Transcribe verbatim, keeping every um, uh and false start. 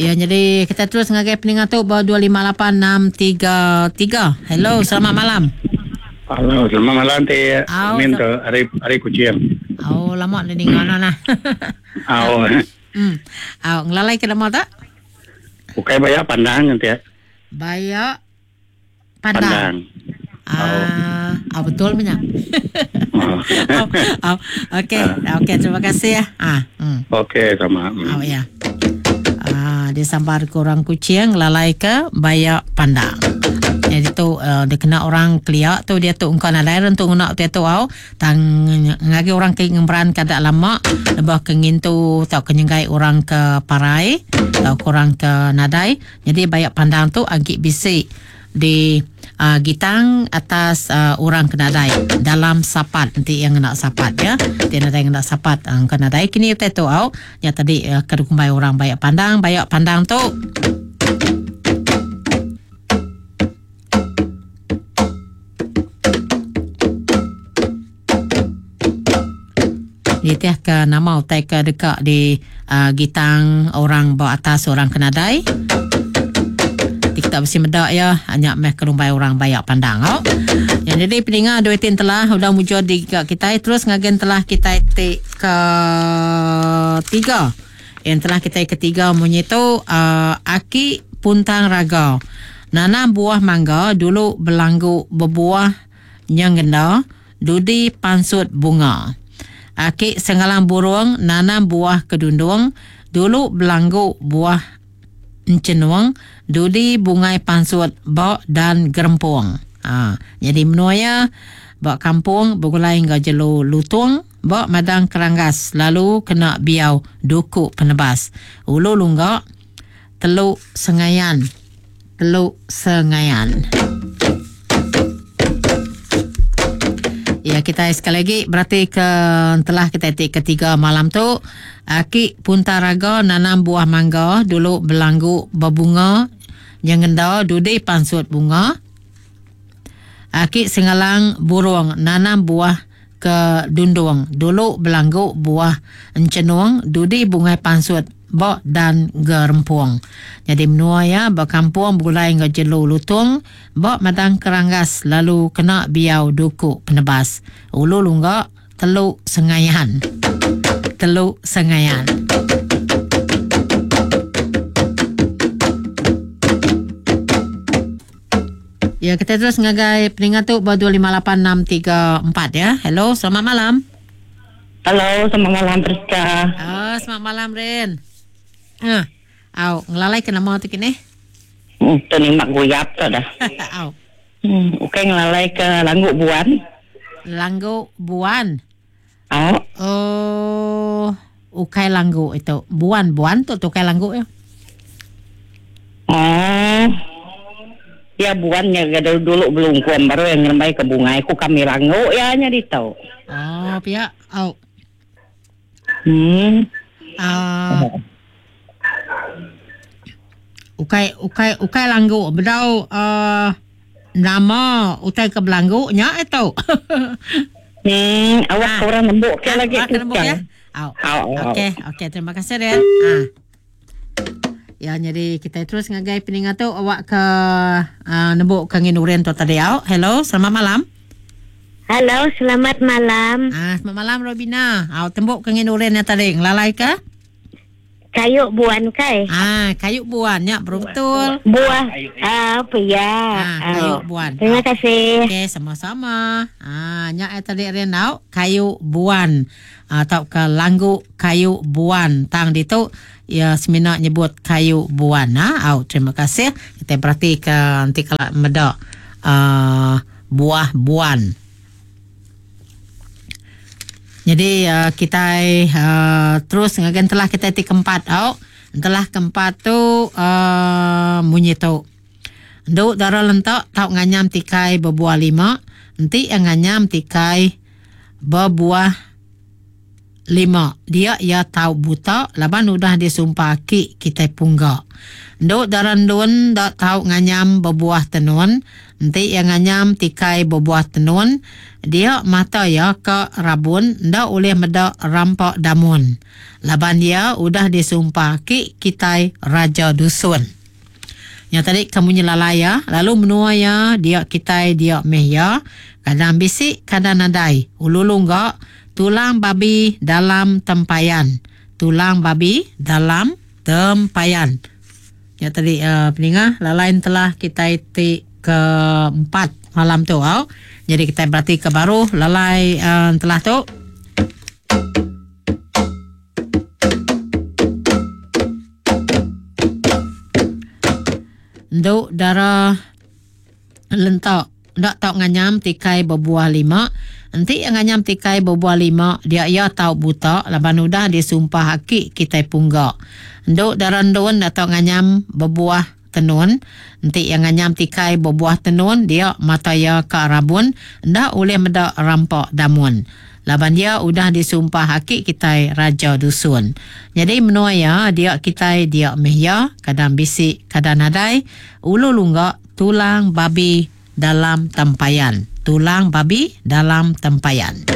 Ya, jadi kita terus ngagai peningat tu ba dua lima lapan enam tiga tiga. Hello, selamat malam. Halo, selamat malam ti. Min tu ari ari Kuching. Oh, lama dah dengar nah. Oh. Hmm. Au, ngelalai ke nama tak? Bukai bayak pandang nanti. Bayak pandang. Pandang. Ah, oh. Oh, betul banyak. Oh. Oh, oh. Okey, okey, terima kasih ya. Ah, hmm. Okey, sama. Hmm. Oh ya. Ah, dia sambar ke orang Kuching lalai ke bayak pandang. Jadi tu uh, dia kena orang keliak tu dia tu engkau nadai rentu ngena dia tu au tang ngagi orang ke ngemberan kadak lama lebah ke ngintu tau ke nyenggai orang ke parai tau ke orang ke nadai. Jadi bayak pandang tu agi bisi di uh, gitang atas uh, orang ke nadai dalam sapat nanti yang kena sapat ya. Dia nadai kena sapat uh, ke nadai kini utai tu au ya tadi uh, ke kumbai orang bayak pandang bayak pandang tu dia ke nama utai ke dekat di uh, gitang orang bawah atas orang kenadai. Kita mesti medak ya, hanya meh kelumbai orang bayak pandang. Oh. Yang jadi peningat dua tin telah udah mujur di kita terus ngagen telah kita ti ke tiga. Yang telah kita ketiga munyi tu uh, aki puntang raga. Nanam buah mangga dulu belanggu berbuah nyenggenda dudi pansut bunga. Aki senggalang burung nanam buah kedundung dulu belanggu buah encenuang dudi bungai pansut bok dan gerempung. Ha, jadi menuaya bok kampung bergulai hingga jelu lutung bok madang keranggas lalu kena biau duku penebas. Ulu lunggak teluk sengayan. Teluk sengayan. Ya, kita sekali lagi berarti ke telah kita tik ketiga malam tu aki puntaraga nanam buah mangga dulu belanggu berbunga yang ngenda dudi pansut bunga. Aki sengalang burung nanam buah ke dundung dulu belanggu buah encenuang dudi bungai pansut bok dan gerempung. Jadi menua ya berkampung bergulai hingga jelu lutung bok madang keranggas lalu kena biau duku penebas. Ulu lunggak teluk sengayan. Teluk sengayan. Ya, kita terus ngagai peningat tu dua lima lapan enam tiga empat ya. Hello, selamat malam. Halo, selamat malam Priska. Oh, selamat malam Ren. Ah, au, ngelalai ke nama tu kini? Hmm, tu ni mak guyap tu dah. Au. Hmm, okey ngelalai ke Langguk Buan. Langguk Buan. Au. Oh, ukai langguk itu. Buan, buan tu tu ukai langguk ya. Oh. Ya buannya dulu, dulu belum kuam baru yang ngerembai ke bunga aku kami langguk ya nya ditau. Oh, pia. Au. Hmm. Ah. Uh, ukai ukai ukai langguk bedau uh, nama utai ke belangguk nya itu. Hmm, awak ah. Orang nembuk ke lagi tu ya. Au. Okey, okey, terima kasih Ren. Ah. Ya, jadi kita terus ngagai peningat tu awak ke uh, nembuk ke ngin uren tu tadi au. Hello, selamat malam. Halo, selamat malam. Ah, selamat malam Robina. Au tembuk ke ngin uren yang tadi ngelalai ke? Kayu buan kai. Ah, kayu buan ya, betul. Buah ah, apa ya? Ah, kayu buan. Terima kasih. Okey, sama-sama. Ah, nyak tadi Ren tau kayu buan atau ke langguk kayu buan. Tang ditu ya semina nyebut kayu buan ha. Au, terima kasih. Kita berarti ke nanti kalau medak uh, buah buan. Jadi uh, kita uh, terus ngagen telah kita ti keempat au. Telah keempat tu uh, munyi tu. Nduk dara lentak tau nganyam tikai berbuah lima, enti yang nganyam tikai berbuah lima. Dia ya tau buta laban udah disumpah ki kita punggak. Nduk dara ndun dak tau nganyam berbuah tenun, enti yang nganyam tikai berbuah tenun, dia mata ya ke rabun ndak boleh medak rampak damun. Laban dia udah disumpah ki kitai Raja Dusun. Yang tadi kamu nyelalai ya, lalu menua ya, dia kitai dia meh ya. Kadang bisi, kadang nadai. Ulu lungga, tulang babi dalam tempayan. Tulang babi dalam tempayan. Yang tadi uh, peninga, lalain telah kitai ti keempat malam tu. Oh. Jadi kita berarti ke baru lalai uh, telah tu. Nduk dara lentak ndak tau nganyam tikai berbuah lima. Enti nganyam tikai berbuah lima, dia ia tau buta laban udah disumpah aki kitai punggak. Nduk dara ndun ndak tau nganyam berbuah tenun. Enti yang nganyam tikai berbuah tenun, dia mata ia ka rabun ndak boleh medak rampak damun. Laban dia udah disumpah aki kitai Raja Dusun. Jadi menua ya, dia kitai dia meh ya, kadang bisi, kadang nadai, ulu lunggak tulang babi dalam tempayan. Tulang babi dalam tempayan.